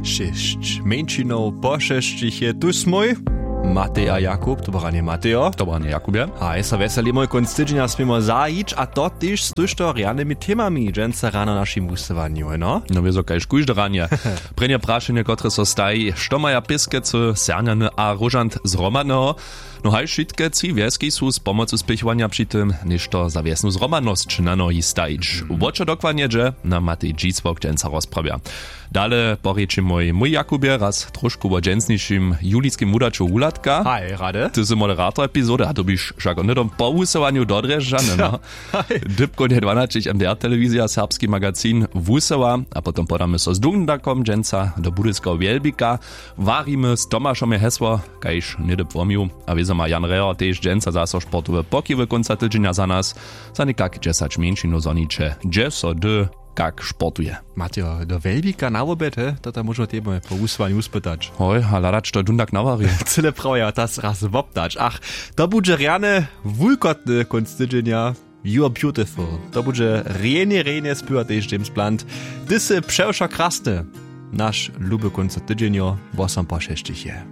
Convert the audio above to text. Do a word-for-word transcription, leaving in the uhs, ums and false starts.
Šěsć mjeńšinow po šesćich je tu smój. Matej a Jakub, to branje Matejo, to branje Jakubje. A je so wjeseli mój kónc tydźenja směmo zajić, a to tež z tuž to rjanymi temami dźensa rano našim wusyłanju, no. No wězo kaž kóžde ranje. Prěnje prašenje, kotrež so staji: što maja pěskecy, sernjany a róžant zhromadneho? No haj, wšitke tři wjeski su z pomocu spěchowanja při tym něšto za wjesnu zhromadnosć na nohi stajić. Wo čo dokładnje dźe, na Matej dźisłok dźensa rozprawja. Dale porěči mój mój Jakubje raz trošku wo dźensnišim juliskim wudaću Wuhladka. Haj, rady. Ty sy moderator epizody a dyrbiš wšak hnydom po wusyłanju do Drježdźany, no. Dypkownje dwanaćich M D R telewizija, serbski magazin, wusyła. A potom podamy so z Dundakom dźensa do budyskeho Wjelbika. Warimy z Tomašom je hesło, kaž něhdy płomju. A wězo ma Jan Reher tež dźensa zaso sportowe pokiwy kónca tydźenja za nas. Za někak dźesać mjeńšinow zhoniće, hdźe so hdy kak sportuje. Matejo, do Wjelbika na woběd, he? To tam móžemy tebje po wusyłanju uspytać. Hoj, a hladać to Dundak nawari. Cyle prawja, tas raz woptać. Ach, to budźe rjany wulkotny kónc tydźenja. You're beautiful. To budźe rjenje rjenje spěwa tež James Blunt. Ty sy přewšo krasny. Naš luby kónc tydźenjo, wosom po šesćich je.